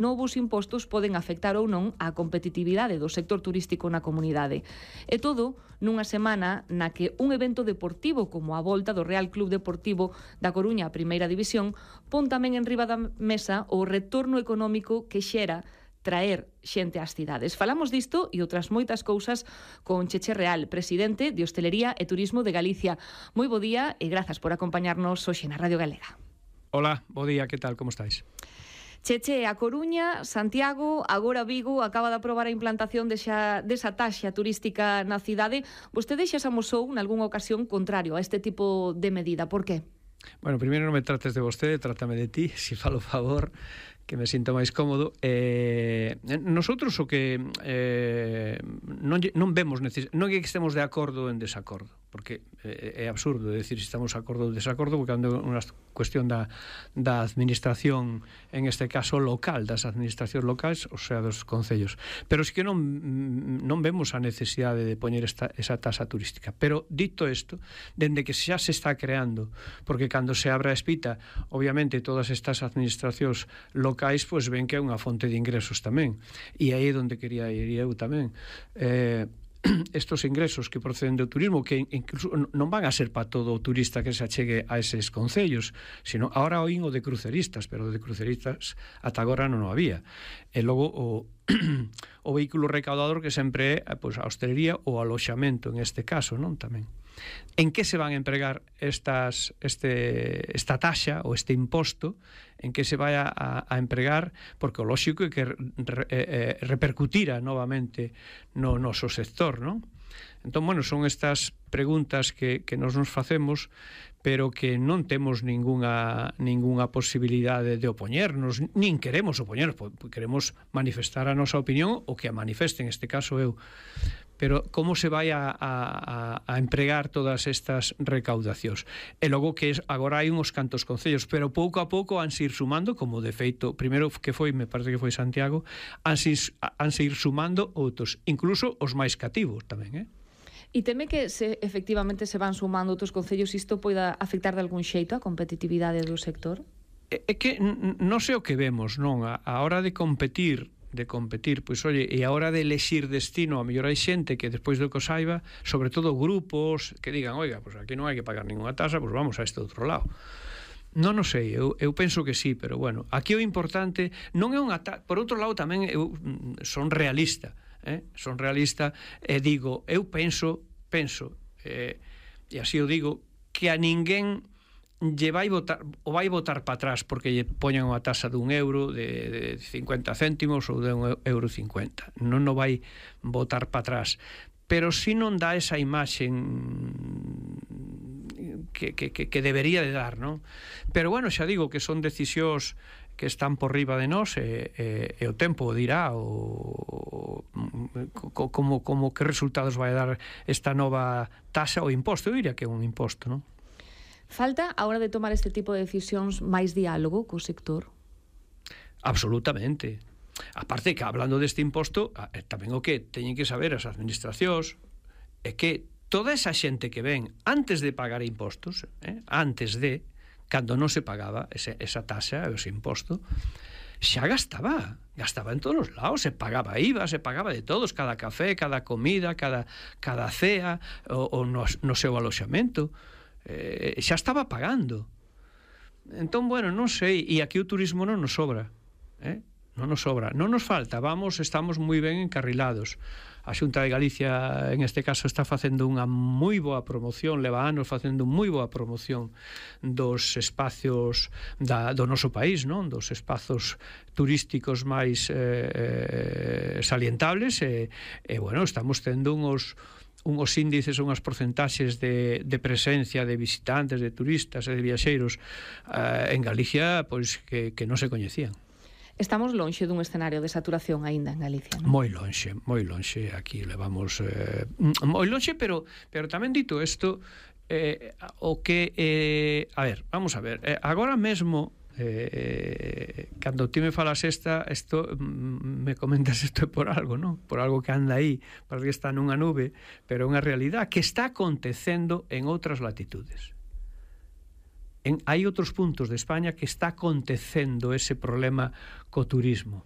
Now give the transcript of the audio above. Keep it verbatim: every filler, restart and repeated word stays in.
novos impostos poden afectar ou non a competitividade do sector turístico na comunidade. E todo nunha semana na que un evento deportivo como a volta do Real Club Deportivo da Coruña a Primeira División pon tamén en riba da mesa o retorno económico que xera traer xente ás cidades. Falamos disto e outras moitas cousas con Cheche Real, presidente de Hostelería e Turismo de Galicia. Moi bo día e grazas por acompañarnos hoxe na Radio Galega. Hola, bo día, que tal, como estáis? Cheche, a Coruña, Santiago, agora Vigo, acaba de aprobar a implantación desa, desa taxa turística na cidade. Vostede xa se amosou nalgúnha ocasión contrario a este tipo de medida. Por qué? Bueno, primeiro non me trates de vostede, trátame de ti, si falo favor, que me sinto máis cómodo. Eh, nosotros o que eh, non, non vemos neces- non é que estemos de acordo en desacordo, porque é, é absurdo decir se estamos de acordo ou desacordo, porque é unha cuestión da, da administración, en este caso local, das administracións locais, ou sea, dos concellos. Pero sí que non, non vemos a necesidade de poñer esta, esa tasa turística. Pero dito isto, dende que xa se está creando, porque cando se abra a espita, obviamente todas estas administracións locais pois ven que é unha fonte de ingresos tamén, e aí é onde quería ir eu tamén. Eh, estos ingresos que proceden do turismo, que incluso non van a ser para todo o turista que se achegue a eses concellos, sino ahora oín o de cruceristas, pero de cruceristas ata agora non o había. E logo o o vehículo recaudador que sempre é pois, a hostelería ou aloxamento en este caso, non tamén. En que se van a empregar estas, este, esta taxa ou este imposto, en que se vai a, a empregar, porque o lóxico é que re, eh, repercutira novamente no noso sector, non? Entón, bueno, son estas preguntas que, que nos nos facemos, pero que non temos ningunha, ningunha posibilidade de opoñernos, nin queremos opoñernos, queremos manifestar a nosa opinión, o que a manifeste, en este caso eu. Pero como se vai a, a, a empregar todas estas recaudacións? E logo que es, agora hai uns cantos concellos, pero pouco a pouco han se ir sumando, como de feito, primeiro que foi, me parece que foi Santiago, han se, han se ir sumando outros, incluso os máis cativos tamén, eh? E teme que se efectivamente se van sumando outros concellos, isto poida afectar de algún xeito a competitividade do sector? É, é que non sei o que vemos, non? A, a hora de competir, de competir, pois, oye, e a hora de elexir destino, a mellor hai xente que despois do que o saiba, sobre todo grupos que digan, oiga, pois aquí non hai que pagar ninguna tasa, pois vamos a este outro lado. Non o sei, eu, eu penso que sí, pero bueno, aquí o importante non é unha tasa. Por outro lado tamén eu son realista, eh? son realista e digo, eu penso, penso, eh, e así o digo, que a ninguén lle vai votar, o vai votar para atrás porque lle poñan unha tasa dun euro, de, de cincuenta céntimos ou de un euro cincuenta. Non o vai votar para atrás. Pero si non dá esa imaxen que, que, que, que debería de dar, non? Pero bueno, xa digo que son decisións que están por riba de nós e, e, e o tempo dirá o, o, como, como que resultados vai dar esta nova tasa ou imposto. Eu diría que é un imposto, non? Falta, a hora de tomar este tipo de decisións, máis diálogo co sector? Absolutamente. Aparte que, hablando deste imposto, tamén o que teñen que saber as administracións é que toda esa xente que ven antes de pagar impostos, eh, antes de, cando non se pagaba ese, esa taxa, ese imposto, xa gastaba, gastaba en todos os lados, se pagaba I V A, se pagaba de todos, cada café, cada comida, cada, cada cea, o, o no, no seu aloxamento, eh, xa estaba pagando. Entón, bueno, non sei, e aquí o turismo non nos sobra, eh? non nos sobra, non nos falta, vamos, estamos moi ben encarrilados. A Xunta de Galicia, en este caso, está facendo unha moi boa promoción, leva anos facendo moi boa promoción dos espacios da, do noso país, non? Dos espazos turísticos máis eh, salientables e, e, bueno, estamos tendo uns unhos índices, unhas porcentaxes de, de presencia de visitantes, de turistas e de viaxeiros eh, en Galicia, pois que, que non se coñecían. Estamos lonxe dun escenario de saturación aínda en Galicia, non? Moi lonxe, moi lonxe. Aquí levamos eh, moi lonxe, pero pero tamén dito isto, eh, o que eh, a ver, vamos a ver, eh, agora mesmo eh, cando ti me falas esta, isto me comentas isto por algo, non? Por algo que anda aí, parece que está nunha nube, pero é unha realidade que está acontecendo en outras latitudes. en, hai outros puntos de España que está acontecendo ese problema co turismo.